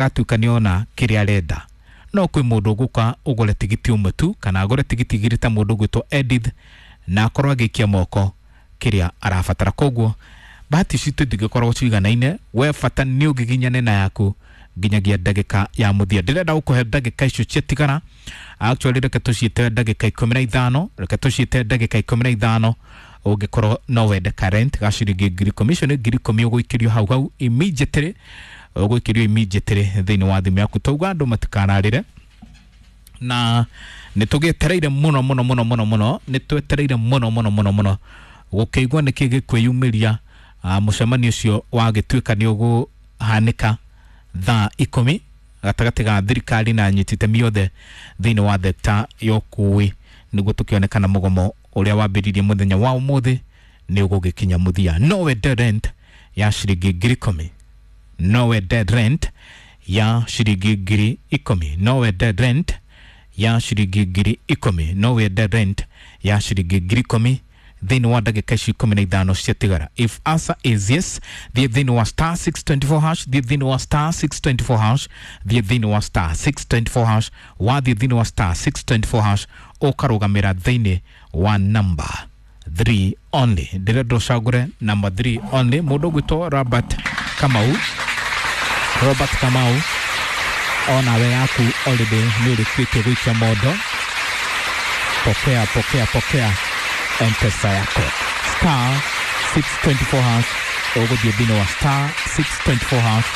Agatuĩka nĩona kĩrĩa arenda. No kwĩ mũndũ ũgũka ũgũre tigiti ũmwe tu kana agũre tigiti igĩrĩ ta mũndũ ũgwĩtwo Edith na akorwo agĩikia moko kĩrĩa arabatara. Koguo bahati citũ itingĩkorwo ciganaine, we bata nĩ ũgiginyane na yaku nginyagia ndagĩka ya mũthia. Ndĩrenda gũkũhe ndagĩka icio ciatigara, actually reke tũciĩte ndagĩka 15, reke tũciĩte ndagĩka 15. Ũngĩkorwo no wende current ga ciringi 10,000, icio nĩ 10,000 ũgũikĩrio hau hau immediately, ũgũikĩrio immediately thĩinĩ wa thimũ yaku. Tauga andũ matikararĩre na nĩ tũgĩetereire mũno mũno mũno mũno mũno, nĩ twetereire mũno mũno mũno mũno gũkĩigua nĩkĩ gĩkwĩyumĩria. Mũcemanio ũcio wagĩtuĩka nĩ ũgũhanĩka thaa 10 gatagatĩ ga thirikari na anyiti itemi othe thĩinĩ wa thekta ya ũkui, nĩguo tũkĩonekana mũgomo ũrĩa wambĩrĩirie mũthenya wa ũmũthĩ nĩ ũgũgĩkinya mũthia. No wende rent ya ciringi 10,000, no wende rent ya ciringi 10,000, no wende rent ya ciringi 10,000, no wende rent ya ciringi 10,000 thĩinĩ wa ndagĩka ici 15 ciatigara. If answer is yes, thiĩ thĩinĩ wa star 624 hash, thiĩ thĩinĩ wa star 624 hash, thiĩ thĩinĩ wa star 624 hash. Wathiĩ thĩinĩ wa star 624 hash ũkarũgamĩra thĩinĩ wa number 3 only. Ndĩrenda ũcagũre number 3 only. Mũndũ ũgwĩtwo Robert Kamau, Robert Kamau, onawe yaku already nĩ ũrĩkĩtie gũikia mondo. Pokea, pokea, pokea Mpesa yako star 624 hash. Ũgũthiĩ thĩinĩ wa star 624 hash,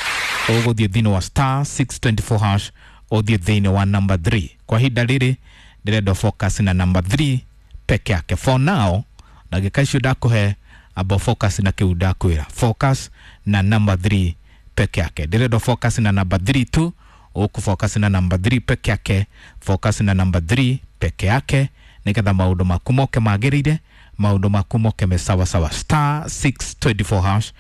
ũgũthiĩ thĩinĩ wa star 624 hash, ũthiĩ thĩinĩ wa number 3. Kwa ihinda rĩrĩ ndĩrenda focus na number 3 peke yake for now. Ndagĩka icio ndakũhe, amba focus na kĩu ndakwĩra, focus na number 3 peke yake. Ndĩrenda focus na number 3 tu, ũkũ focus na number 3 peke yake, focus na number 3 peke yake nĩgetha maũndũ maku moke magĩrĩire, maũndũ maku moke me sawa sawa. Star 624 hash,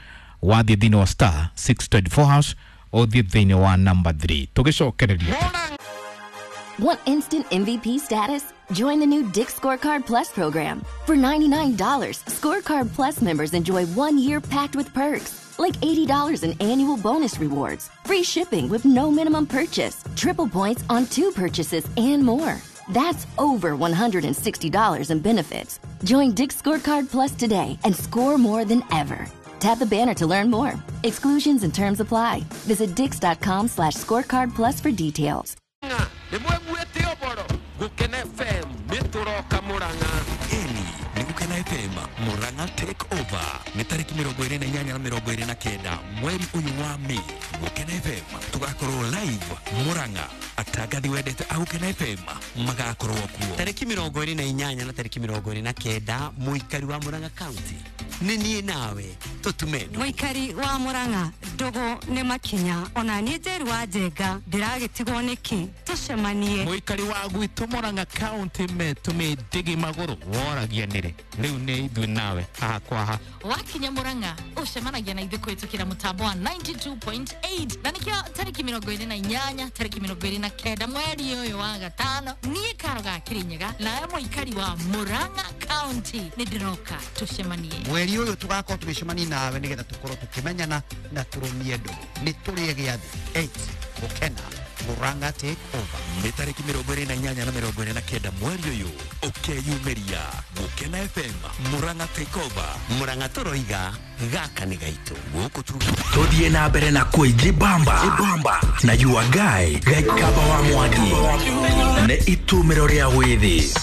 wathiĩ thĩinĩ wa star 624 hash ũthiĩ thĩinĩ wa number 3 tũgĩcokereria. Want instant MVP status? Join the new Dick's Scorecard Plus program. For $99, Scorecard Plus members enjoy 1 year packed with perks, like $80 in annual bonus rewards, free shipping with no minimum purchase, triple points on two purchases, and more. That's over $160 in benefits. Join Dick's Scorecard Plus today and score more than ever. Tap the banner to learn more. Exclusions and terms apply. Visit dicks.com/scorecard plus for details. Nĩ mwĩguĩte ũboro Gũkena FM nĩ tũroka Mũrang'a. Ĩni nĩ Gũkena FM Murang'a Take Over, nĩ tarĩki 28 na 29 mweri ũyũ wa Mei. Gũkena FM tũgakorwo live Murang'a. Atangathi wendete a Gũkena FM magakorwo kuo. Tarĩki 28 na tarĩki 29, mũikari wa Murang'a County, nĩ niĩ nawe tũtume ndũgũ. Mũikari wa Mũrang'a, ndũgũ nĩ makinya, ona niĩ Njeri wa Njenga ndĩragĩtigwo nĩkĩ, tũcemanie. Mũikari wa gwitũ Murang'a County metũmĩ ndigi magũrũ woragia nĩrĩ rĩu nĩ ithuĩ nawe haha kwa haha. Wakinya Murang'a ũcemanagia na ithuĩ kũhĩtũkĩra mũtambo wa 92.8, na nĩkĩo tarĩki 28, tarĩki 29 mweri ũyũ wa gatano, niĩ Karo ga Kĩrĩnyaga nawe mũikari wa Murang'a County nĩ ndĩroka tũcemanie. Mweri ũyũ tũgakorwo tũgĩcemania nawe nĩgetha tũkorwo tũkĩmenyana na tũrũmie ndũgũ. Nĩ tũrĩe gĩathĩ 8 Gũkena Murang'a Take Over. Nĩ tarĩki 28 na 29 mweri ũyũ, ũkeyumĩria Gũkena FM Murang'a Take Over. Murang'a tũroiga gaka nĩ gaitũ. Gũkũ tu. Tũthiĩ na mbere na kwĩjibamba na your guy Gaikaba wa Mwangi nĩ itumĩro rĩa wĩthĩ.